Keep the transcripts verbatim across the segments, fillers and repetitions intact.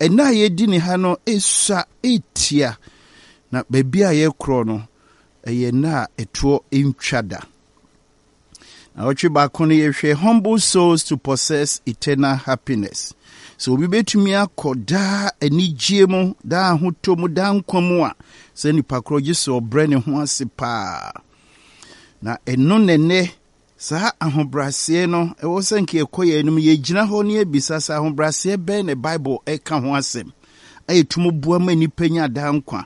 Ɛnna a yɛdi ne ha no esua etia, na baabi a yɛkorɔ no ɛyɛ nna a ɛtoɔ ntwa da. Na ɔtwe baako no, yɛhwɛ humble souls to possess eternal happiness. Sɛ obi bɛtumi akɔ daa anigye mu, daa ahotɔ mu, daa nkwa mu a, sɛ nipa korɔ gye sɛ ɔbrɛ ne ho ase paa. Na ɛno nɛnɛ saa ahobrɛaseɛ no ɛwɔ sɛ nka yɛkɔ yɛn anim, yɛgyina hɔ ne yɛbisa sɛ ahobrɛaseɛ bɛn na Bible ɛka ho asɛm a yɛtum boa ma nnipa nya daa nkwa.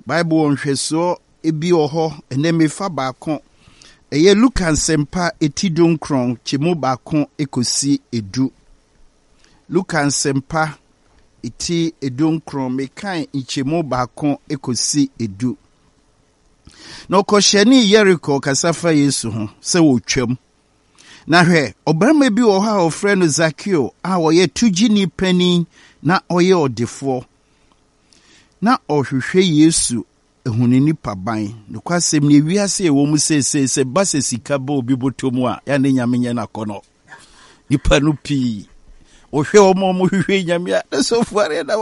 Bible wɔ nhwɛsoɔ bi wɔ hɔ. Ɛnɛ mefa baako, ɛyɛ Luka Nsɛmpa eti dunkron kyɛmu baako ekosi edu. Luka Nsɛmpa eti edunkron, mekan nkyɛmu baako ekosi edu. Na ɔkɔhyɛne Yeriko, kasa fa Yesu ho sɛ wɔtwam. Na hwɛ, ɔbarima bi wɔ hɔ a wɔfrɛ no Zakeo a ɔyɛ togyeni panin na ɔyɛ ɔdefoɔ. Na ɔhwehwɛ Yesu ehunu nipa ban. Nokwasɛm ne ewiase a ɛwɔ mu seesei, sɛ ba sɛ sika bɔ obi bɔtɔ mu a, yɛa ne Nyame nyɛ n'akɔnɔ. Nipa no pii wɔhwɛ wɔn a wɔhwehwɛ Nyame a, na sɔfo are na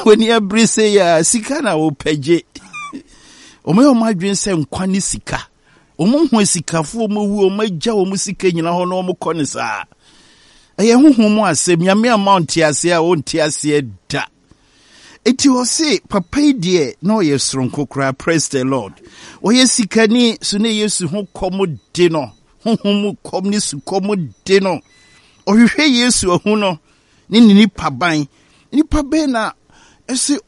wɔni abere sɛ yɛ a sika na wɔpɛ gye. Wɔn yɛ wɔn adwene sɛ nkwa ne sika. Wɔn ho asikafoɔ, wɔn awu, wɔn agya wɔn sika nyina hɔ na wɔn kɔ ne saa. Ɛyɛ honhom mu asɛm. Nyame ama ɔnte aseɛ a, ɔnte aseɛ da. Eti ɔse papa yi deɛ, na ɔyɛ soronko koraa. Praise the Lord. Ɔyɛ sikani so ne Yesu ho kɔm de no, honhom mu kɔm ne sukɔm de no. Ɔhwehwɛ Yesu ahu no ne ne nipa ban. Nipa bɛn na ɛsɛ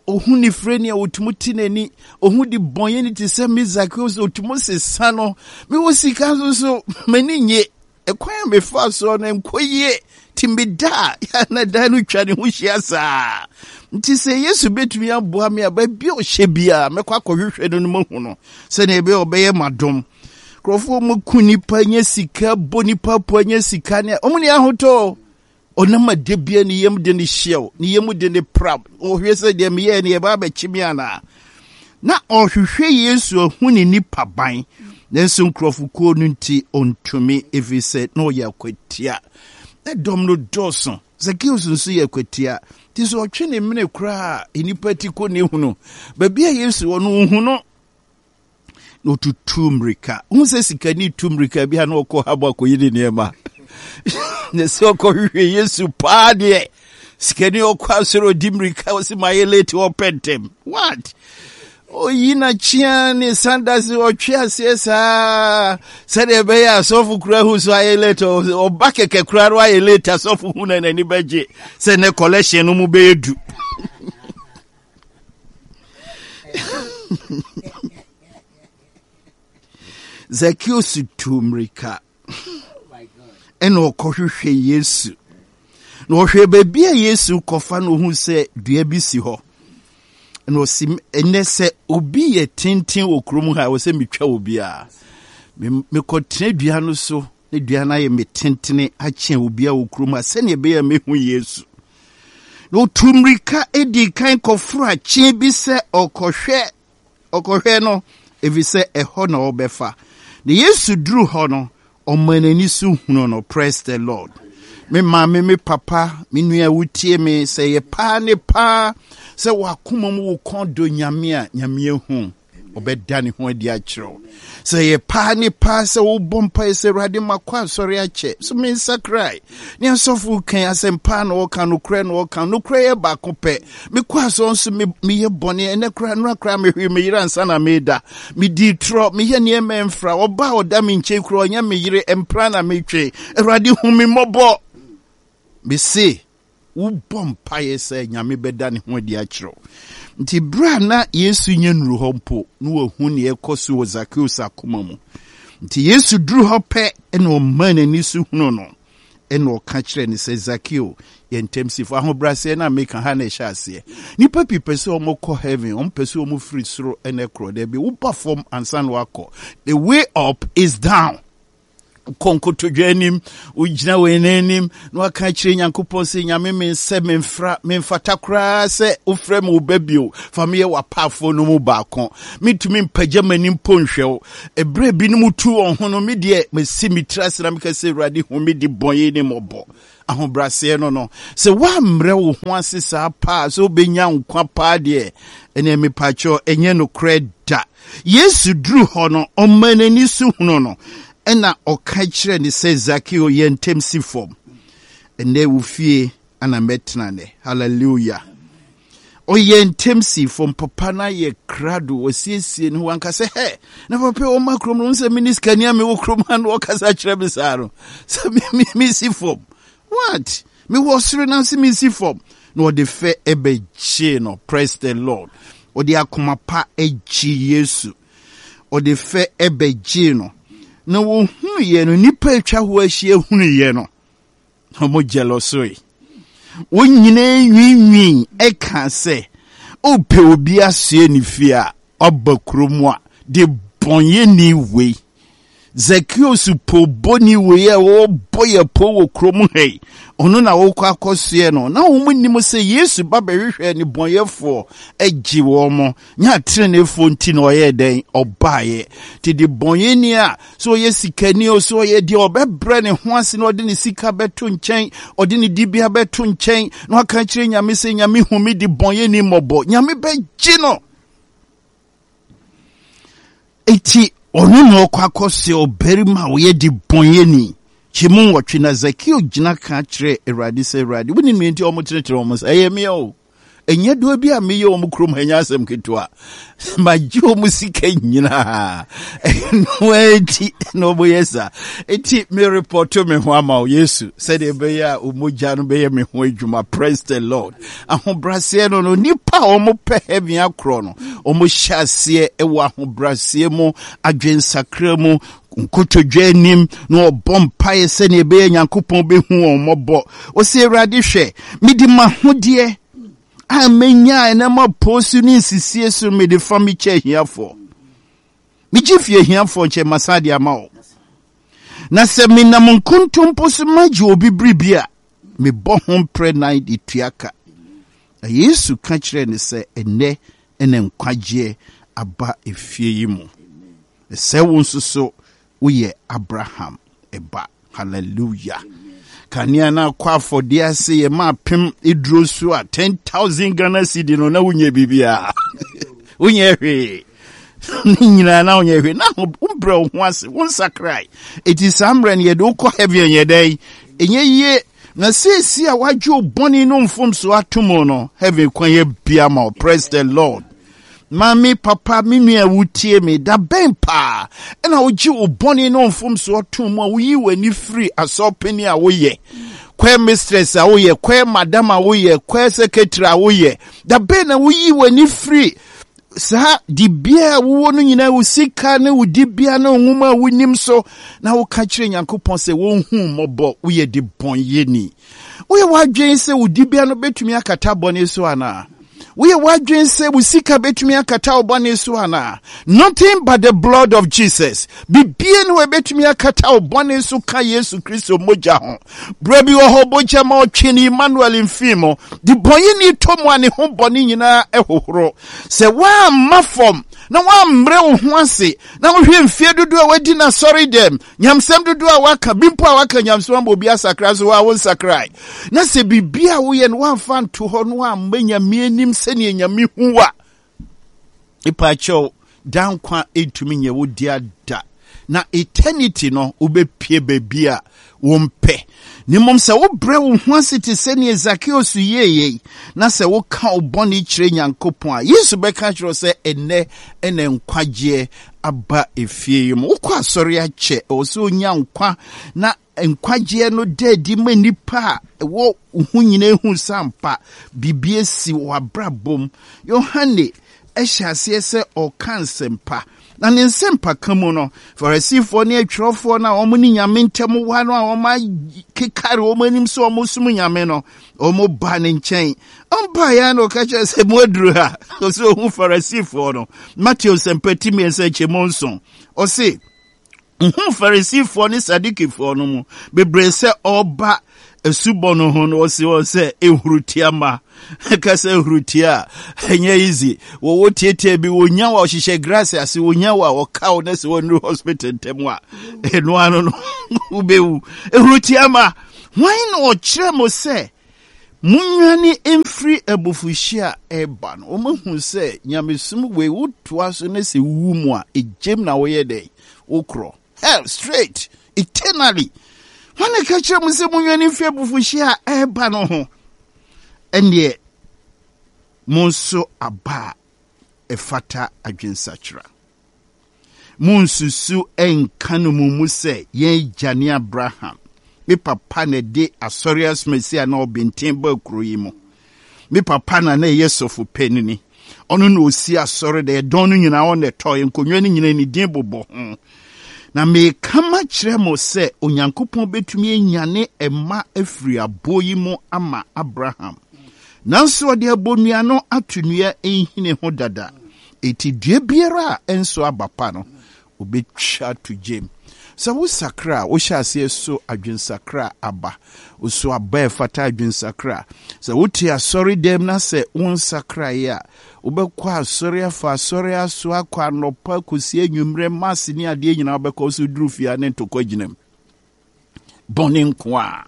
ɔhu ne fira ni a ɔtumi te n'ani, ɔhu de bɔnyɛ ne te sɛ me Zacchaeus, ɔtumi sesa no? Mewɔ sika nso so m'ani nye ɛkwan a mefa soɔ no nkɔ yie, nti meda a na dan no twa ne ho hyia saa. Nti sɛ Yesu bɛtumi aboa me a, baabi a ɔhyɛ biara mɛkɔ akɔhwehwɛ no no mahu no, sɛnea ɛbɛyɛ ɔbɛyɛ m'adom. Nkurɔfoɔ mu ku nipa nya sika, bɔ nipa po nya sika ne ɔmo ne ahotɔ. Ɔnam ade bia ne yam de ne hyew, ne yam de ne pra, ɔhwɛ sɛ deɛ meyɛɛ ne yɛba abɛkye me anaa. Na ɔhwehwɛ Yesu ahu ne nipa ban, nanso nkurɔfokuo no nti ɔntumi, ɛfiri sɛ na ɔyɛ akwatia na dɔm no dɔɔso. Zacchaeus nso yɛ akwatia, nti sɛ ɔtwe ne mene koraa a, nnipa ti kɔ ne hunu baabi a Yesu wɔ no, ɔhu no na ɔtutu mmirika. Hu sɛ sikani tu mmirika bi a na ɔkɔ habɔ akɔyi ne nneɛma, na sɛ ɔkɔhwehwɛ Yesu paa deɛ, sikani ɔkɔ asɔre, ɔdi mmirika, ɔsi ma yɛ late, ɔpɛ ntɛm. What oyi n'akyea ne sandals, ɔtwe aseɛ saa sɛdeɛ ɛbɛyɛ asɔfo kura hu so ayɛ late. Ɔba kɛkɛ kura no ayɛ late, asɔfo hu na n'ani bɛgye sɛ ne collection no mu bɛyɛ du. Zacchaeus tu mmirika ɛna ɔkɔhwehwɛ Yesu, na ɔhwɛ baabi a Yesu kɔfa no, ohun sɛ dua bi si hɔ, na ɔsi ɛnɛ sɛ obi yɛ tenten wɔ kurom ha, ɛwɔ sɛ metwa obiara. Mekɔtena dua no so na dua no ayɛ me tentene akyɛn obi a wɔ kurom ha, sɛnea ɛbɛyɛ a mehu Yesu. Na otu mmirika edi kan kɔforo akyen bi sɛ ɔkɔhwɛ ɔkɔhwɛ no, ɛfiri sɛ ɛhɔ na ɔbɛfa. Na Yesu duru hɔ no, ɔma n'ani so hunu no. Praise the Lord. Me maame, me papa, me nua wotie me, sɛ yɛ paa ne paa sɛ wakoma mu wo kɔn dɔ Nyame a, Nyame ahu, ɔbɛda ne ho adi akyerɛ wo. Sɛ yɛ paa ne paa sɛ wobɔ mpae sɛ, "Awurade, makɔ asɔre akyɛ so mensakrae, ne asɔfo kan asɛmpa na ɔka nokorɛ na ɔka nokorɛ yɛ baako pɛ, mekɔ asɔre nso meyɛ bɔne, ɛnɛ koraa, nora koraa mehwee me yere ansa na meda, medii torɔ, meyɛ nneɛma mfra, ɔba a ɔda me nkyɛn koraa ɔnyɛ me yere, mpra na metwe, Awurade hu me mmɔbɔ," mese wobɔ mpaeɛ sɛ Nyame bɛda ne ho adi akyerɛ wo. Nti berɛ a na Yesu nyɛ nnuru hɔ mpo na wahu nea ɛkɔ so wɔ Zacchaeus akoma mu. Nti Yesu duru hɔ pɛ ɛna ɔma n'ani so hunu no, ɛna ɔka kyerɛ ne sɛ, "Zakeo, yɛ ntɛm si fam." Ahobrɛaseɛ no a meka ha na ɛhyɛ aseɛ. Nnipa pii pɛ sɛ wɔkɔ heaven, wɔn pɛ sɛ wɔn firi soro ɛna ɛkorɔ. Daabi, woba fam ansa na wakɔ. The way up is down. Kɔ nkotodwe anim, wogyina wɔ yɛn anim na waka kyerɛ Nyankopɔn sɛ, "Nyame, me nsɛ memfra, memfata koraa sɛ wofrɛ me wo ba bio. Fa meyɛ w'apaafoɔ no mu baako. Mentumi mpagya m'anim mpo nhwɛ wo." Ɛberɛ binom tu wɔn ho no, me deɛ masi me tiri ase na meka sɛ, "Awurade, hu me de bɔne ne mmɔbɔ." Ahobrɛaseɛ no no, sɛ woammrɛ wo ho ase saa paa sɛ wobɛnya nkwa paa deɛ, ɛneɛ mepakyɛw ɛnyɛ nokorɛ da. Yesu duru hɔ no, ɔma n'ani so hunu no, ɛna ɔka kyerɛ ne sɛ, Zakeo, yɛ ntɛm si fam. Ɛnɛ wo fie ana mɛtena nɛ. Hallelujah. Ɔyɛ ntɛm si fam. Papa no ayɛ krado, wɔsiesie ne ho anka sɛ, hɛ, na papa ɔma kurom no, sɛ mene sikani a mewɔ kurom ha no, ɔkasa kyerɛ me saa no, sɛ mesi fam. What? Mewɔ soro na sɛ mesi fam. Na ɔde fɛ ɛbɛgyee no. Praise the Lord. Ɔde akoma pa agye Yesu. Ɔde fɛ ɛbɛgyee no. Na wɔhunuiɛ no, nnipa atwa hɔ ahyia hunuiɛ no, ɔmo jealousy. Wɔn nyinaa nwiinwii ɛka sɛ, ɔpɛ obi asoɛ ne fie a, ɔba kurom a, de bɔnyɛni wei. Zacchaeus po bɔni wei a wɔbɔ yɛ po wɔ kurom ha yi, ɔno na wɔkɔ akɔsoɛ no. Na wɔn nim sɛ Yesu ba bɛhwehwɛ ne bɔnyɛfoɔ agye wɔn mo. Nyɛ ateneneefoɔ nti na ɔyɛ dɛn ɔbaeɛ. Nti de bɔnyɛni a, sɛ ɔyɛ sikani o, sɛ ɔyɛ deɛ ɔbɛbrɛ ne ho ase na ɔde ne sika bɛto nkyɛn, ɔde ne dibea bɛto nkyɛn, na waka kyerɛ Nyame sɛ, Nyame hu me de bɔnyɛni mmɔbɔ. Nyame bɛgye no. Eti ɔno na ɔkɔ akɔsɛ ɔbarima a ɔyɛ de bɔnyɛni. Kyɛmu nwɔtwe na Zakeo gyina ka kyerɛ Awurade sɛ, Awurade, wonim nea nti a wɔtenetene wɔn nsa? Ɛyɛ me o. Ɛnyɛ doɔ bi a meyɛ wɔn kurom ha, nyɛ asɛm ketewa. Magye wɔn sika nyinaa. Ɛno akyi na wɔyɛ saa. Eti me repɔto me ho ama wo, Yesu, sɛdeɛ ɛbɛyɛ a wo mogya no bɛyɛ me ho adwuma. Praise the Lord. Ahobrɛaseɛ no no, nipa a wɔn pɛ heaven akorɔ no, wɔn hyɛ aseɛ wɔ ahobrɛaseɛ mu, adwensakra mu, nkotodwe anim, na ɔbɔ mpaeɛ sɛdeɛ ɛbɛyɛ Nyankopɔn bɛhu wɔn mmɔbɔ. Ɔsɛ, Awurade, hwɛ, mede m'ahodeɛ a menya ɛnam apɔ so ne nsisie so mede fa me kyɛ ahiafoɔ. Megye fi ahiafoɔ nkyɛn masan de ama wo. Na sɛ menam nkontompo so magye obi biribi a, mebɔ ho mprɛ nan de tua ka. Na Yesu ka kyerɛɛ no sɛ, ɛnnɛ ɛna nkwagyeɛ aba efie yi mu. Sɛ wo nso so woyɛ Abraham ɛba. Hallelujah. Kanea na akɔ afɔdeɛ ase yɛ ma apem eduro so a ten thousand Ghana cedi no na wonyɛ biribiara. Wonyɛ hwee. Ne nyinaa na wonyɛ hwee. Na wombrɛ wo ho ase, wonsakrae. Eti saa mmerɛ no yɛde wokɔ heaven yɛ dɛn? Ɛnyɛ yie. Na seesie a wagye wo bɔne no mfomso ato mu no, heaven kwan yɛ bia ma wo. Praise the Lord. Maame, papa, me nua a wotie me, da bɛn paa ɛna wogye wo bɔne no mfomsoɔ to mu a woyi w'ani firi asɔpani a woyɛ, choir mistress a woyɛ, choir madam a woyɛ, choir secretary a woyɛ? Da bɛn na woyi w'ani firi saa dibea a wowɔ no nyinaa, wo sika ne wo dibea ne wo nwoma a wonim so, na woka kyerɛ Nyankopɔn sɛ wɔnhu mmɔbɔ, woyɛ de bɔnyɛni? Woyɛ w'adwene sɛ wo dibea no bɛtumi akata bɔne so anaa? Woyɛ w'adwene sɛ wo sika bɛtumi akata wo bɔne so anaa? Nothing but the blood of Jesus. Bibie ne wɔbɛtumi akata wo bɔne so ka Yesu Kristo mogya ho. Berɛ bi wɔ hɔ, mogya ma ɔtwe ne Emmanuel mfii mu. De bɔnyɛni tɔ mu a ne ho bɔne nyinaa ɛhohoro. Sɛ woamma fam na woammrɛ wo ho ase na wohwɛ mfie dodoɔ a woadi n'asɔre dɛm, nyamsɛm dodoɔ a waka, bi mpo a waka nyamsɛm ama obi asakra so, a wonsakrae, na sɛ biribi a woyɛ no woamfa nto hɔ no amma Nyame anim sɛnea Nyame hu a, ipaakyɛw, da nkwa ntumi nyɛ wo dea da. Na eternity no wobɛpie baabi a wompɛ. Na mmom sɛ wobrɛ wo ho ase te sɛnea Zacchaeus yɛeɛ, na sɛ woka wo bɔne kyerɛ Nyankopɔn a, Yesu bɛka kyerɛ wo sɛ ɛnnɛ ɛna nkwagyeɛ aba efie yi mu. Wokɔ asɔre akyɛ, ɛwɔ sɛ onya nkwa na nkwagyeɛ no da adi ma nnipa a ɛwɔ wo ho nyinaa hu sɛ ampa biribi asi wɔ abrabɔ mu. Yohane ɛhyɛ aseɛ sɛ ɔka nsɛmpa, na ne nsɛmpa ka mu no, Farisifoɔ ne atwerɛfoɔ no a wɔn ne Nyame ntam wa no a wɔn akekare wɔn anim sɛ wɔn som Nyame no, wɔn ba ne nkyɛn. Ɔmpa yɛn na ɔka kyerɛ sɛ mo aduru ha. Ɔsɛ ohun Farisifoɔ no. Mateo nsɛmpa ti mmiɛnsa nkyɛmu nson. Ɔse, ohun Farisifoɔ ne Sadukifoɔ no mu bebree sɛ ɔba asubɔ no ho no, ɔse wɔn sɛ ehurutia ma. Ɛka sɛ ehurutia a, ɛnyɛ easy. Wɔwɔ tietie bi, wɔnya wɔ ɔhyehyɛ grass ase, wɔnya wɔ a ɔka wo na sɛ wɔnnuru hospital ntɛm a, ɛno ano no wobɛwu. Ehurutia ma. Hwan na ɔkyerɛ mo sɛ monnwane mfiri abufuhyeɛ a ɛreba no? Wɔahu sɛ nyamesom wei wotoa so ne sɛ wowu mu a, egyem na woyɛ dɛn? Wokorɔ. Hell straight, eternally. Hwan na ɛka kyerɛ mo sɛ monnwane mfiri abufuhyeɛ a ɛreba no ho? Ɛnneɛ monso aba a ɛfata adwensakyera. Monsusu nka no mo mu sɛ yɛn agya ne Abraham. Me papa na ɛde asɔre asomasi a na ɔbɛnten ba kuro yi mu. Me papa na na ɛyɛ sɔfo panini. Ɔno na osi asɔre dɛ ɛdɔn no nyinaa ɔna ɛtɔ nkonnwa no nyinaa ne din bobɔ ho. Na meka makyerɛ mo sɛ Onyankopɔn bɛtumi anyane mma afiri aboɔ yi mu ama Abraham. Nanso ɔde abonnua no ato nnua nhini ho dada. Eti dua biara a ɛnso aba pa no, obɛtwa ato gyem. Sɛ wosakra a, wohyɛ aseɛ so adwensakra aba. Woso aba a ɛfata adwensakra. Sɛ wote asɔre dɛm na sɛ wonsakraeɛ a, wobɛkɔ asɔre afa asɔre aso akɔ anɔpa kɔsi anwummerɛ mass ne adeɛ nyinaa wobɛkɔ so duru fie a ne ntɔkwa gyina mu. Bɔne nko a.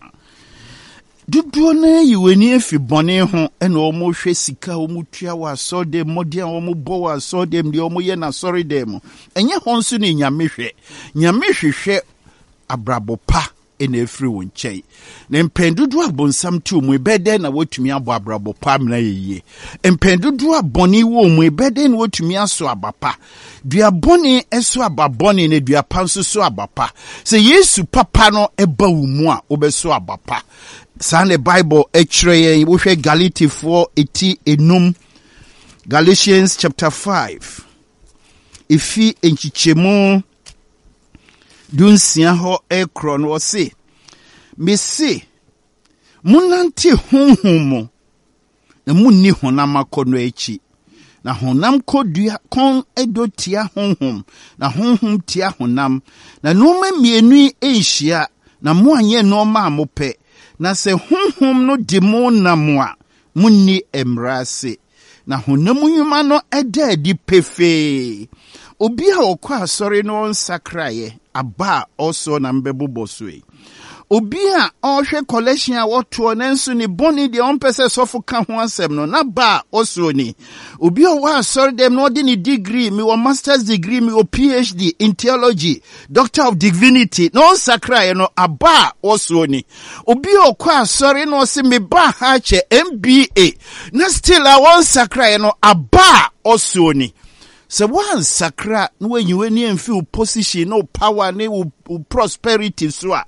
Dodoɔ no ayi w'ani afi bɔne ho ɛna wɔhwɛ sika a wɔtua wɔ asɔre mmɔden a wɔbɔ wɔ asɔre dɛm deɛ wɔyɛ n'asɔre dɛm mu. Ɛnyɛ hɔ nso ne Nyame hwɛ. Nyame hwehwɛ abrabɔ pa ɛna ɛfiri wo nkyɛn. Na mpɛn dodoɔ a bonsam te wo mu, ɛbɛyɛ dɛn na woatumi abɔ abrabɔ pa amena yɛ yie? Mpɛn dodoɔ a bɔne wɔ mu, ɛbɛyɛ dɛn na woatumi aso aba pa? Dua bɔne ɛso aba bɔne na dua pa nso so aba pa. Sɛ Yesu papa no ɛba wo mu a, wobɛso aba pa. Saa na Bible ɛkyerɛ yɛn. Wohwɛ Galatifoɔ eti enum, Galatians chapter five, efi nkyekyɛmu dunsia hɔ ɛkorɔ no, ɔse, mese, monnante honhom mu, na munni honam akɔnnɔ akyi. Na honam kɔdua kɔn dɔ tia honhom, na honhom tia honam. Na nneɛma mmienu yi nhyia, na moanyɛ nneɛma a mopɛ. Na sɛ honhom no de mo nam a, munni mmara ase. Na honam nnwuma no ɛda adi pefee. Obi a ɔkɔ asɔre no ɔnsakraeɛ, aba a ɔsoɔ na mbɛbobɔ so yi. Obi a ɔrehwɛ collection a wɔtoɔ nanso ne bɔne deɛ ɔmpɛ sɛ sɔfo ka ho asɛm no, n'aba a ɔsoɔ ni. Obi a ɔwɔ asɔre dɛm na ɔde ne degree, mewɔ masters degree, mewɔ P H D in theology, doctor of divinity, na ɔnsakraeɛ no, aba a ɔsoɔ ni. Obi a ɔkɔ asɔre na ɔse meba ha kyɛ M B A, na still a wɔnsakraeɛ no, aba a ɔsoɔ ni. Sɛ woansakra na woayi w'ani amfi wo position ne wo power ne wo wo prosperity so a,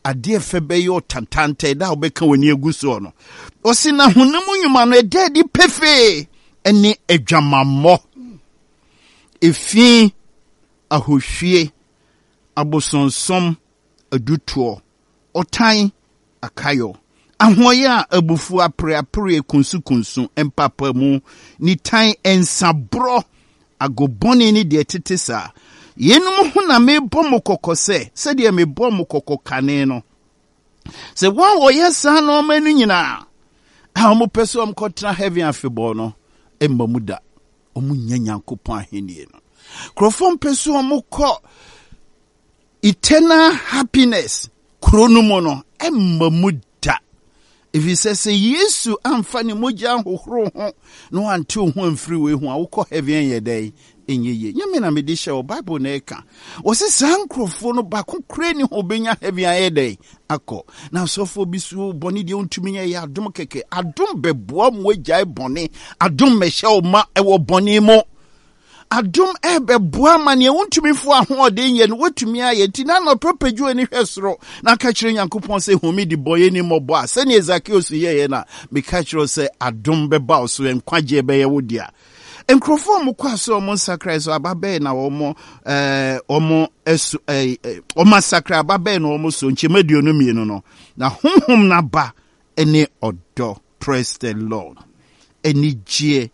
adeɛ fɛ bɛyɛ ɔtantantɛ da a wobɛka w'ani agu soɔ no. Ɔse na honam nnwuma no ɛda adi pefee ne adwamammɔ, efi, ahohwie, abosonsom, adutoɔ, ɔtan, akayɔ, ahoɔyɛ a abufuo, apereapere, kunsukunsu, mpapamu, nitan, nsaborɔ, agobɔne ne deɛ ɛtete saa. Yeinom ho na mebɔ mo kɔkɔ sɛ sɛdeɛ mebɔ mo kɔkɔ kane no, sɛ wɔn a wɔyɛ saa nneɛma no nyinaa a wɔpɛ sɛ wɔkɔtena heaven afebɔɔ no mma mu da, wɔn nyɛ Nyankopɔn ahennie no. Nkurɔfoɔ mpɛ sɛ wɔkɔ eternal happiness kuro no mu no mma mu da, ɛfiri sɛ sɛ Yesu amfa ne mogya ahohoro ho na wante wo ho amfiri wei ho a, wokɔ heaven yɛ dɛn? Ɛnyɛ yie. Nyame na mede hyɛ wɔ Bible na ɛka. Wɔse saa nkurɔfoɔ no baako kora ni ho bɛnya heaven ayɛ dɛn akɔ. Na asɔfoɔ bi so bɔne deɛ wontumi nyɛ, yɛ adom kɛkɛ. Adom bɛboa mu agyae bɔne. Adom mmɛhyɛ wo ma ɛwɔ bɔne mu. Adom ɛbɛboa ma nea wontumi fo ahoɔden yɛ no woatumi ayɛ. Nti na anɔpɛ pagyo ani hwɛ soro na ka kyerɛ Nyankopɔn sɛ hu me de bɔyɛ ni mmɔbɔ a, sɛneɛ Zakeus yɛeɛ no a, meka kyerɛ wo sɛ adom bɛba wo so, nkwagyeɛ bɛyɛ wo dea. Nkurɔfoɔ a wɔkɔ asɛ wɔn nsakra so aba bɛyɛ na wɔn ɛɛ wɔn ɛso ɛɛ wɔn asakra aba bɛyɛ na wɔn so nkyɛn aduonu mmienu no na honhom n'aba ne ɔdɔ, praise the Lord, anigyeɛ,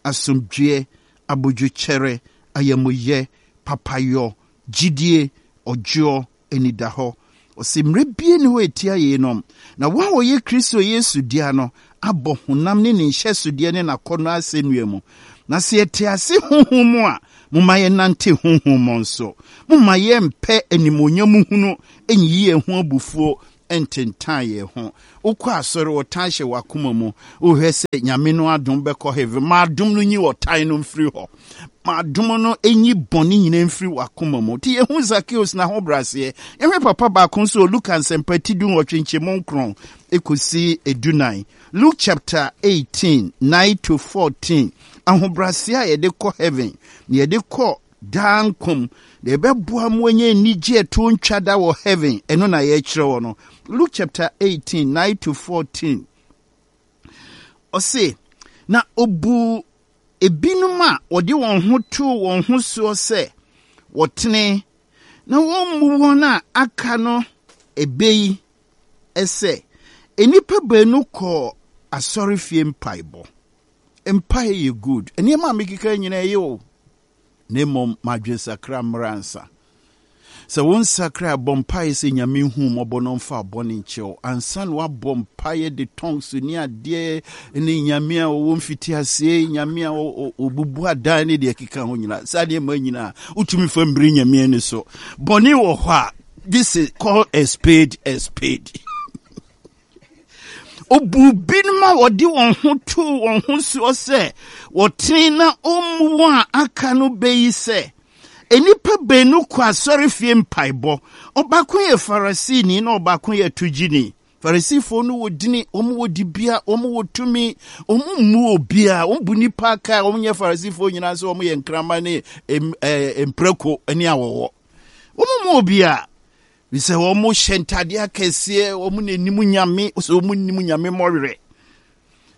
asomdwoeɛ, abodwokyɛrɛ, ayamuyɛ, papayɔ, gyidie, ɔdwoɔ, anidahɔ. Ɔsɛ mmerɛ bie ne hɔ ɛtia yeinom. Na wɔn a wɔyɛ Kristo Yesu dea no abɔ honam ne ne nhyɛsodeɛ ne n'akɔnnɔ asɛnnua mu. Na sɛ yɛte ase honhom mu a, momma yɛnante honhom mu nso. Momma yɛmpɛ animuonyam hunu nyiyi yɛn ho abufuo. Ntentan yɛn ho. Wokɔ asɔre, ɔtan hyɛ w'akoma mu. Wohwɛ sɛ Nyame no adom bɛkɔ heaven. Ma adom no nyi ɔtan no mfiri hɔ. Ma adom no nyi bɔne nyinaa mfiri w'akoma mu. Nti yɛhu Zacchaeus n'ahobrɛaseɛ. Yɛhwɛ papa baako nso wɔ Luka Nsɛmpa ti du nwɔtwe nkyɛmu nkron kɔsi edunan. Luke chapter eighteen, nine to fourteen. Ahobrɛaseɛ a yɛde kɔ heaven, na yɛde kɔ daa nkwa mu, na ɛbɛboa mo anya anigye ɛtoɔ ntwa da wɔ heaven, ɛno na yɛrekyerɛ wɔ no. Luke chapter eighteen, nine to fourteen. Ɔse, na obu ebinom a wɔde wɔn ho too wɔn ho soɔ sɛ wɔtene, na wɔmmu wɔn a aka no ɛbɛ yi sɛ, nnipa baanu kɔɔ asɔrefie mpaebɔ. Mpae yɛ good. Nneɛma a mekeka nyinaa ɛyɛ o. Na mmom, ma adwensakra mmra ansa. Sɛ wo nsakra a, bɔ mpaeɛ sɛ Nyame nhu wo mmɔbɔ na ɔmfa wo bɔne nkyɛ wo. Ansa na woabɔ mpaeɛ de tongues ne adeɛ ne Nyame a ɔwɔ mfitiaseɛ, Nyame a ɔbubu adan ne deɛ ɛkeka ho nyinaa, saa nneɛma nyinaa, wotumi fa mmiri Nyame ani so. Bɔne wɔ hɔ a, this is call a spade a spade. Obu binom a wɔde wɔn ho too wɔn ho soɔ sɛ wɔtene na ɔmmu wɔn a aka no bɛyi sɛ, nnipa baanu kɔ asɔrefie mpaebɔ. Ɔbaako yɛ Farisini na ɔbaako yɛ togyini. Farisifoɔ no wɔ dini, wɔn wɔ dibea, wɔn wɔ tumi, wɔn mmu obiara, wɔn bu nnipa aka a wɔn nyɛ Farisifoɔ nyinaa sɛ wɔn yɛ nkraman ne mprako ne awɔwɔ. Wɔn mmu obiara. Sɛ wɔn hyɛ ntadeɛ akɛseɛ, wɔn na anim Nyame, sɛ wɔn nim Nyame mmɔwerɛ.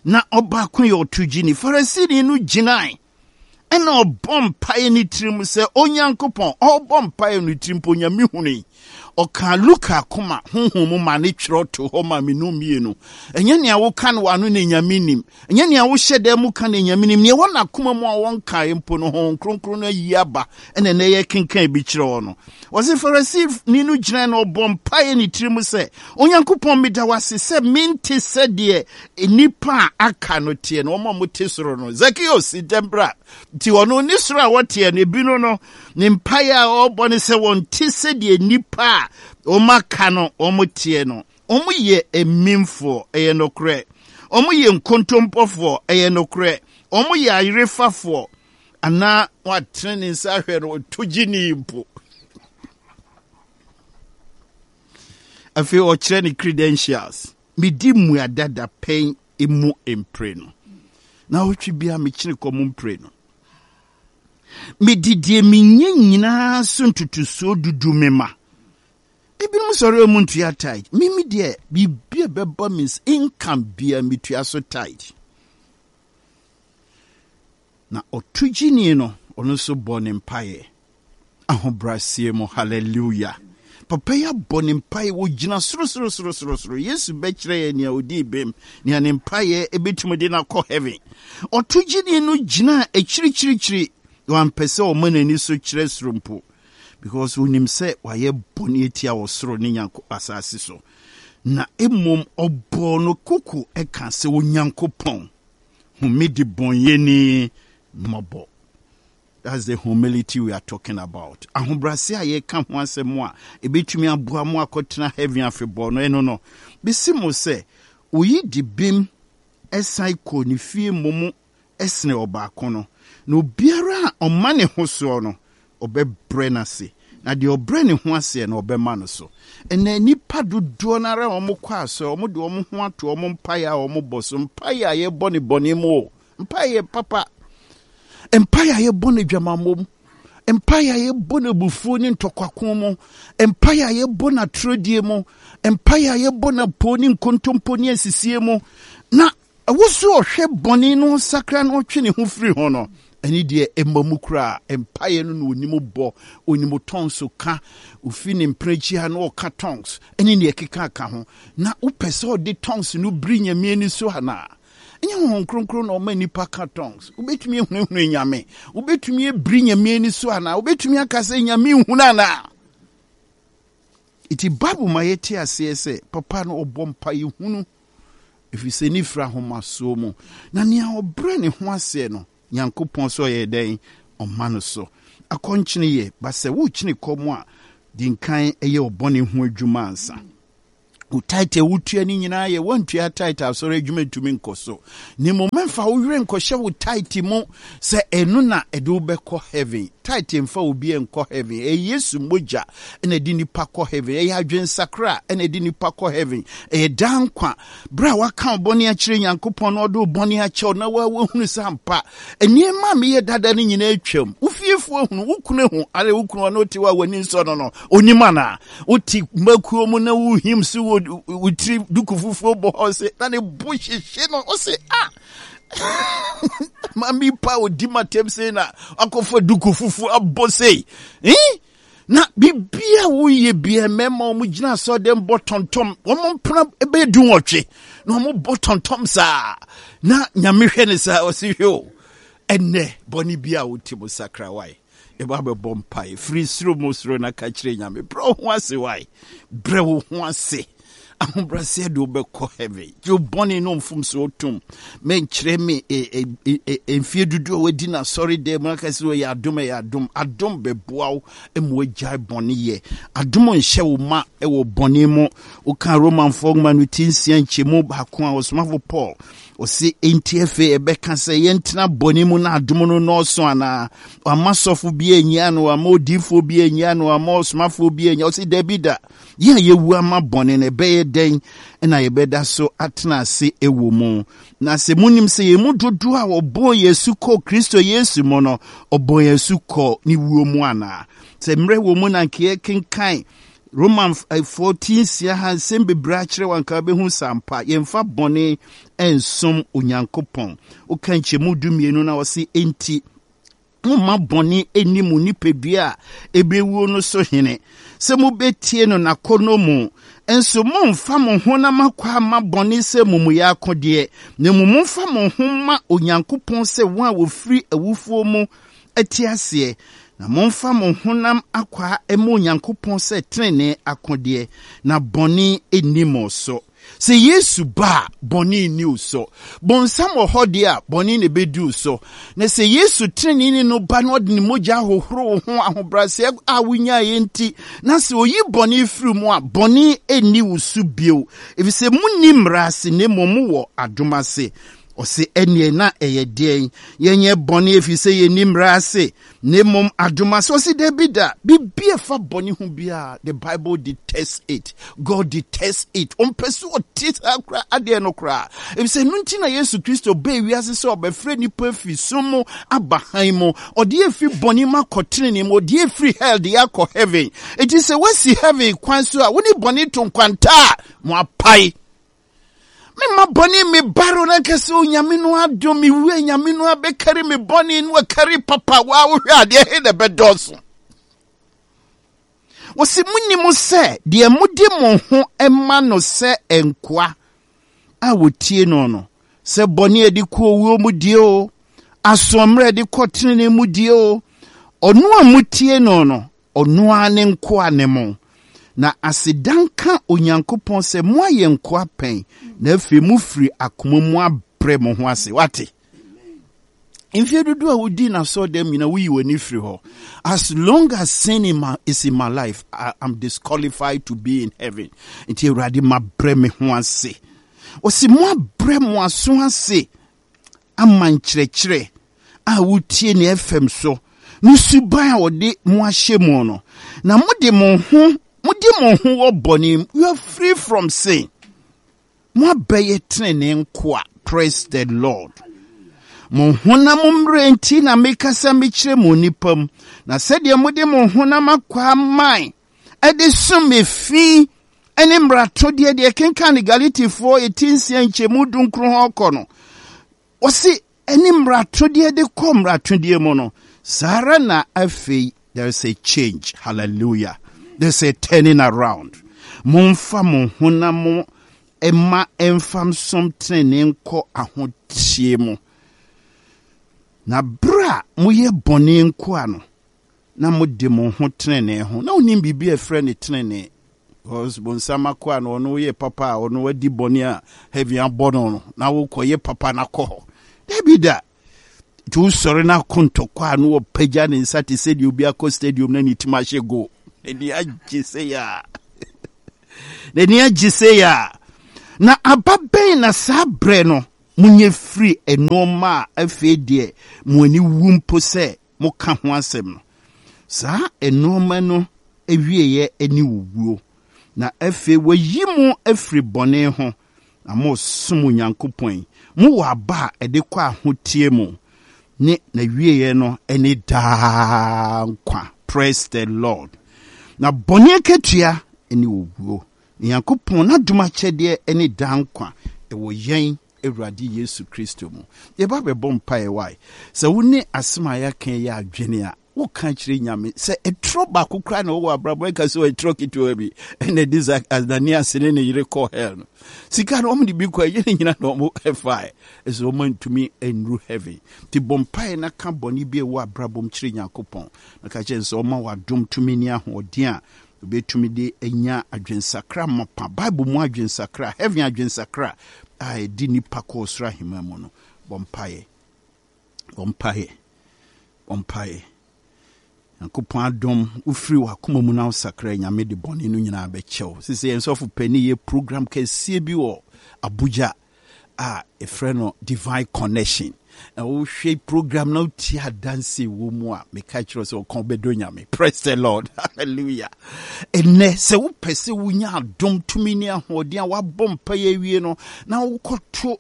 Na ɔbaako yɛ ɔtogyini. Farisini no gyinae ɛna ɔbɔ mpaeɛ ne tirim sɛ Onyankopɔn, ɔbɔ mpaeɛ ne tirim mpo Nyame hunu. Ɔka Luka akoma honhom mu ma ne twerɛ to hɔ ma menu mmienu. Ɛnyɛ nea woka no w'ano na Nyame nim. Ɛnyɛ nea wohyɛ dan mu ka na Nyame nim. Nea ɛwɔ n'akoma mu a wɔnkae mpo no, Honhom Kronkron no ayi aba ɛna ɛnɛ yɛkenkan bi kyerɛ wɔ no. Wɔse Farisini no gyina na ɔbɔ mpaeɛ ne tirim sɛ, Onyankopɔn, meda wo ase sɛ mente sɛdeɛ nnipa a aka no teɛ no, wɔn a wɔte soro no. Zacchaeus, ntɛm bra. Nti ɔno ne soro a wɔteɛ no, ebinom no, ne mpaeɛ a ɔrebɔ ne sɛ wɔnte sɛdeɛ nnipa a wɔn aka no wɔn teɛ no. Wɔn yɛ amimfoɔ, ɛyɛ nokorɛ. Wɔn yɛ nkontompɔfoɔ, ɛyɛ nokorɛ. Wɔn yɛ ayerefafoɔ, anaa wɔatene ne nsa ahwɛ no, ɔto gyini mpo. Afei ɔkyerɛ ne credentials. Medi mmuada dapɛn emu mprenu. Na ɔtwe bia mekyene kɔm mprenu. Mede deɛ menyɛ nyinaa so ntotosoɔ dudu me ma. Ebinom sɔre ɔmu ntua tithe. Mimi deɛ, biribi a ɛbɛba me income bia metua so tithe. Na ɔtogyini no, ɔno nso bɔ ne mpaeɛ. Ahobrɛaseɛ mu, hallelujah. Papa yi abɔ ne mpaeɛ, wɔgyina soro soro soro soro soro. Yesu bɛkyerɛ yɛn nea ɔdii bem, nea ne mpaeɛ ebɛtumi de no akɔ heaven. Ɔtogyini no gyina akyirikyirikyiri, wampɛ sɛ ɔma n'ani so kyerɛ soro mpo, because onim sɛ wayɛ bɔne atia wɔ soro ne Nyanko asase so. Na mmom ɔbɔɔ no koko ɛka sɛ, Onyankopɔn, hu me de bɔnyɛni mmɔbɔ. That's the humility we are talking about. Ahobrɛase a yɛka ho asɛm a ebetumi aboa mo akɔtena heaven afebɔɔ no, ɛno no. Bisi mo sɛ, oyi di bem ɛsan kɔ ne fie mmom ɛsene ɔbaako no. Na obiara a ɔma ne ho soɔ no, ɔbɛbrɛ n'ase. Na deɛ ɔbrɛ ne ho aseɛ no, ɔbɛma no so. Ɛnna nnipa dodoɔ no ara a wɔkɔ asɔre, wɔde wɔn ho ato wɔn mpaeɛ a wɔbɔ so. Mpaeɛ a yɛbɔ ne bɔne mu o. Mpaeɛ papa. Mpaeɛ a yɛbɔ no adwamammɔ mu. Mpaeɛ a yɛbɔ no abufuo ne ntɔkwako mu. Mpaeɛ a yɛbɔ no atorɔdie mu. Mpaeɛ a yɛbɔ no apoo ne nkontompo ne asisie mu. Na ɛwɔ so ɔhwɛ bɔne no sakra na ɔtwe ne ho firi ho no, ɛne deɛ ɛma mu koraa. Mpaeɛ no na onim bɔ, onim tongues ka, ofi ne mprɛkyi ha na ɔka tongues, ɛne deɛ ɛkeka ka ho. Na wopɛ sɛ ɔde tongues no biri Nyame ani so anaa? Ɛnyɛ Honhom Kronkron na ɔma nnipa ka tongues. Wobɛtumi ahunahuna Nyame. Wobɛtumi abiri Nyame ani so anaa? Wobɛtumi aka sɛ Nyame nhunu anaa? Nti Bible ma yɛte aseɛ sɛ papa no ɔbɔ mpaeɛ hunu, ɛfiri sɛ ne firi ahomasoɔ mu. Na nea ɔbrɛ ne ho aseɛ no, Nyankopɔn sɛ ɔyɛ dɛn? Ɔma no so. Akɔnkyene yɛ, ba sɛ wokyene kɔm a, di nkan ɛyɛ ɔbɔne ho adwuma ansa. Wo tithe a wotua no nyinaa yɛ woantua tithe a asɔre adwuma ntumi nkɔ so. Na mmom mɛmfa wo werɛ nkɔhyɛ wo tithe mu sɛ ɛno na ɛde wo bɛkɔ heaven. Tithe mfa obi nkɔ heaven. Ɛyɛ Yesu mogya na ɛde nipa kɔ heaven. Ɛyɛ adwensakra na ɛde nipa kɔ heaven. Ɛyɛ daa nkwa. Berɛ a waka wo bɔne akyerɛ Nyankopɔn na ɔde wo bɔne akyɛ wo na woahunu sɛ ampa nneɛma a meyɛ dada no nyinaa atwam. Wo fiefoɔ ahunu, wo kunu ahu, are wo kunu ɔne wote hɔ a w'ani nsɔ no no, onim anaa? Wote mmakuo mu na wohim so wɔ wo tiri duku fufuo bɔ hɔ se na ne bo hyehye no, ɔse ah mami pa odi matam sei na akɔfa duku fufuo abɔ sei. Eh? Na biribi a woyɛ bia mmarima wɔn gyina asɔrɔdɛm bɔ tɔntɔm, wɔn mpena bɛyɛ du nwɔtwe na wɔn bɔ tɔntɔm saa na Nyame hwɛ ne saa ɔsi hwɛ o, ɛnɛ bɔne bi a wote mu sakra wae, ɛba bɛbɔ mpae firi soro mu soro na ka kyerɛ Nyame, brɛ wo ho ase wae, brɛ wo ho ase. Ahobrɛaseɛ de wobɛkɔ heaven. Gye wo bɔne no mfomsoɔ tom. Mɛnkyerɛ me mfie dodoɔ a wadi no asɔre dɛm mu aka sɛ ɔyɛ adom, ɛyɛ adom. Adom bɛboa wo ma woagyae bɔne yɛ. Adom nhyɛ wo ma wɔ bɔne mu. Woka Romanfoɔ nwoma no ti nsia nkyɛmu baako a ɔsomafo Paul ɔse, enti afei ɛbɛka sɛ yɛntena bɔne mu na adom no nnɔɔso anaa? Wamma sɔfo bi annyia no, wamma odiyifoɔ bi annyia no, wamma ɔsomafoɔ bi annyia. Ɔse dabi da. Yɛn a yɛawu ama bɔne no, ɛbɛyɛ dɛn na yɛbɛda so atena ase wɔ mu? Na sɛ munim sɛ yɛn mu dodoɔ a wɔbɔɔ yɛn asu kɔɔ Kristo Yesu mu no, ɔbɔɔ yɛn asu kɔɔ ne wuo mu anaa? Sɛ mmerɛ wɔ mu na anka yɛkenkan Romanfoɔ ti nsia ha nsɛm bebree akyerɛ wo anka wobɛhu sɛ ampa yɛmfa bɔne nsom Onyankopɔn. Woka nkyɛmu du mmienu na ɔse enti momma bɔne nni mo nipadua a ɛbɛwuo no so hene, sɛ mobɛtie no n'akɔnnɔ mu. Nso mommfa mo honam akwaa mma bɔne sɛ amumuyɛ akodeɛ, na mmom momfa mo ho mma Onyankopɔn sɛ wɔn a wɔfiri awufoɔ mu te aseɛ, na momfa mo honam akwaa mma Onyankopɔn sɛ tenenee akodeɛ, na bɔne nni mo so. Sɛ Yesu ba a, bɔne nni wo so. Bonsam wɔ hɔ deɛ a, bɔne na ɛbɛdi wo so. Na sɛ Yesu teneneeni no ba na ɔde ne mogya ahohoro wo ho ahobrɛaseɛ a wonyaeɛ nti, na sɛ ɔyi bɔne firi mu a, bɔne nni wo so bio. Ɛfiri sɛ monni mmara ase, na mmom mowɔ adom ase. Ɔse ɛneɛ na ɛyɛ deɛn? Yɛnyɛ bɔne ɛfiri sɛ yɛnni mmara ase, na mmom adom ase. Ɔse dabi da, biribi a ɛfa bɔne ho biara, the Bible detests it. God detests it. Ɔmpɛ sɛ ɔte saa kora adeɛ no koraa. Ɛfiri sɛ ɛno nti na Yesu Kristo baa wiase sɛ ɔbɛfrɛ nnipa afiri sum mu aba hann mu. Ɔde afiri bɔne mu akɔ tenenee mu. Ɔde afiri hell de akɔ heaven. Enti sɛ woasi heaven kwan so a, wo ne bɔne to nkwanta a, mo apae. Mema bɔne me baro na nka sɛ Onyame no adom me wu Nyame no abɛkari me bɔne no akari papa wa wohwɛ adeɛ he na ɛbɛdɔɔso. Wɔsi munim sɛ deɛ mode mo ho ma no sɛ nkoa a wɔtie no no, sɛ bɔne a ɛde kɔ owuo mu die o, asoɔmmerɛ a ɛde kɔ tenenee mu die o, ɔno a motie no no, ɔno ara ne nkoa ne mo. Na aseda nka Onyankopɔn sɛ moayɛ nkoa pɛn, na afei mofiri akoma mu abrɛ mo ho ase. Wate? Mfeɛ dodoɔ a wodi n'asɔɔdɛm nyinaa, woyi w'ani firi hɔ. As long as sin in my, is in my life, I am disqualified to be in heaven. Nti Awurade mabrɛ me ho ase. Ɔsi mo abrɛ mo aso ase ama nkyerɛkyerɛ a wotie ne F M so ne suban a wɔde mo ahyɛ mu no. Na mode mo ho, mode mo ho wɔ bɔne mu. You are free from sin. Mo abɛyɛ tenenee nkoa. Praise the Lord. Mo honam mmerɛ nti na mekasa mekyerɛ mo nipa mu. Na sɛdeɛ mode mo honam akwaa mae ɛde som efi ɛne mmaratodeɛ deɛ kenkan ne Galatifoɔ eti nsia nkyɛmu dunkron hɔ kɔ no, wɔsi ɛne mmaratodeɛ de kɔ mmaratodeɛ mu no, saa ara na afei there is a change. Hallelujah. There is a turning around. Momfa mo honam ɛma ɛmfa nsom tenenee nkɔ ahoteɛ mu. Na bere a moyɛ bɔne nkoa no, na mode mo ho tenenee ho. Na wonim biribi a ɛfrɛ ne tenenee. Because bonsam akoa no, ɔno yɛ papa a ɔno adi bɔne a heaven abɔ no no, na wokɔyɛ papa na kɔ hɔ. Dabi da. Nti wosɔre na akɔ ntɔkwa a na wɔpagya ne nsa te sɛ deɛ obi akɔ stadium na ne tim ahyɛ goal. N'ani agye sɛ yɛ a. N'ani agye sei a, na aba bɛn na saa berɛ no monyɛ firi nnoɔma a afei deɛ mo ani wu mpo sɛ moka ho asɛm no? Saa nnoɔma no awieeɛ ne owuo. Na afei wɔayi mo afiri bɔne ho na moresom Onyankopɔn yi. Mowɔ aba a ɛde kɔ ahoteɛ mu ne n'awieeɛ no ne daa nkwa. Praise the Lord. Na bɔne akatua ne owuo. Nyankopɔn n'adom akyɛdeɛ ne daa nkwa ɛwɔ yɛn Awurade Yesu Kristo mu. Yɛba bɛbɔ mpaeɛ wae. Sɛ wo ne asɛm a yɛaka yi yɛ adwene a, woka kyerɛ Nyame sɛ ɛtorɔ baako koraa na wɔwɔ abrabɔ ɛka sɛ ɛtorɔ ketewa bi ɛna ɛde sa Ananias ne ne yere kɔ hell no. Sika no wɔn de bi kɔ ɛyɛ ne nyina na wɔn ɛfae. Ɛsɛ wɔn antumi nnuru heaven. Nti bɔ mpaeɛ na ka bɔne bi a ɛwɔ abrabɔ mu kyerɛ Nyankopɔn. Na ka kyerɛ sɛ ɔma w'adom tumi ne ahoɔden a obɛtumi de anya adwensakra mapa, Bible mu adwensakra, heaven adwensakra a ɛdi nipa kɔ ɔsoro ahemman mu no. Bɔ mpaeɛ. Bɔ mpaeɛ. Bɔ mpaeɛ. Nyankopɔn adom wofiri w'akoma mu na wosakra, Nyame de bɔne no nyinaa bɛkyɛw. Sɛ yɛn sɔfo pani yɛ program kɛseɛ bi wɔ Abuja a ɛfrɛ no Divine Connection. Na wohwɛ program na wotie adanse wɔ mu a, meka kyerɛ sɛ ɔka wobɛdɔ Nyame. Praise the Lord. Hallelujah. Ɛnnɛ sɛ wopɛ sɛ wonya adom tumi ne ahoɔden a woabɔ mpaeɛ awie no na wokɔto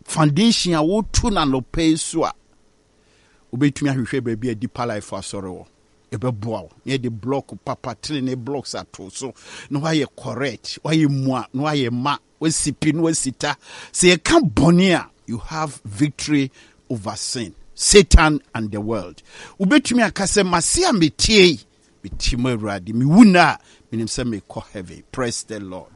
foundation a woto no anɔpa yi so a, wobɛtumi ahwehwɛ baabi a Deeper Life asɔre wɔ. Ɛbɛboa wo na yɛde block papa tenene blocks ato so na woayɛ correct, woayɛ mua na woayɛ ma, woasi pi na woasi ta. Sɛ yɛka bɔne a, you have victory over sin, Satan and the world. Wobɛtumi aka sɛ mase a metie yi, metie mu Awurade, mewu na a menim sɛ mekɔ heaven. Praise the Lord.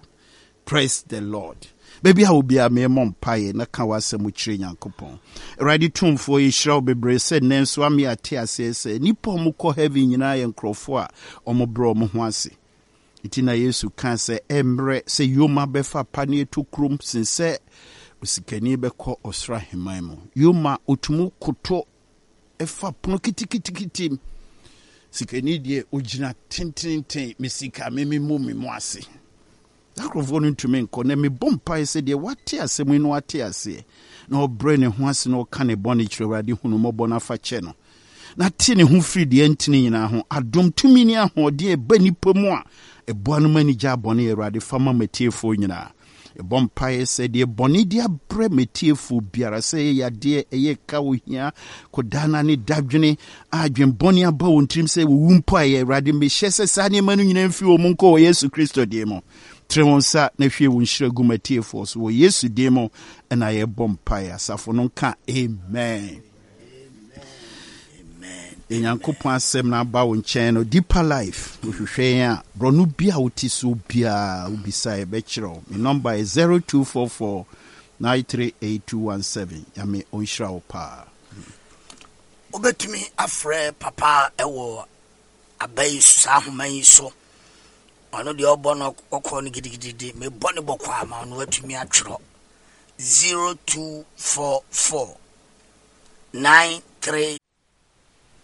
Praise the Lord. Baabi a obiara memmɔ mpaeɛ na ka w'asɛm kyerɛ Nyankopɔn. Awurade tumfoɔ, yɛhyira wo bebree sɛ nnɛ nso ame ate aseɛ sɛ nnipa a ɔmokɔ heaven nyinaa yɛ nkurɔfoɔ a ɔmobrɛ ɔmo ho ase. Nti na Yesu kaa sɛ ɛmmerɛ sɛ yoma bɛfa pa ne ɛtɔ kurom sen sɛ osikani bɛkɔ ɔsoro ahemman mu. Yoma otumi koto ɛfa pono kitikitikiti mu. Sikani deɛ ogyina tententen, me sika me me mu me mu ase. Saa nkurɔfoɔ no ntumi nkɔ. Na mebɔ mpaeɛ sɛ deɛ wate asɛm yi no wate aseɛ na ɔbrɛ ne ho ase na ɔka ne bɔne kyerɛ Awurade, hunu mmɔbɔ no afa kyɛ no na te ne ho firi deɛ ntene nyinaa ho. Adom tumi ne ahoɔden a ɛba nnipa mu a ɛboa no ma ani gya bɔne, Awurade fa ma matiefoɔ nyinaa. Ɛbɔ mpaeɛ sɛ deɛ bɔne de abrɛ matiefoɔ biara, sɛ ɛyɛ yadeɛ, ɛyɛ ka, ohia, kɔdaana ne dadwene a adwenbɔne aba wɔn tirim sɛ wɔwu mpo a, ɛyɛ Awurade mehyɛ sɛ saa nneɛma no nyinaa mfiri wɔn mu nkɔ wɔ Yesu Kristo din mu. Tene wɔn nsa na hwie wɔn nhyira gu matiefoɔ so wɔ Yesu din mu ɛna yɛbɔ mpaeɛ. Asafo no nka amen. Nyankopɔn asɛm no aba wo nkyɛn no, Deeper Life wohwehwɛ yɛn a, borɔno bi a wote so biara wobisa yɛbɛkyerɛ wo. Me number yɛ zero two four four nine three eight two one seven. Nyame ɔnhyira wo paa. Wobɛtumi afrɛ papa ɛwɔ aba yi so, saa ahoma yi so. Ɔno deɛ ɔbɔ no ɔkɔ no gidigidi, mebɔ ne bɔkɔ ama ɔno atumi atwerɛ: zero two four four nine three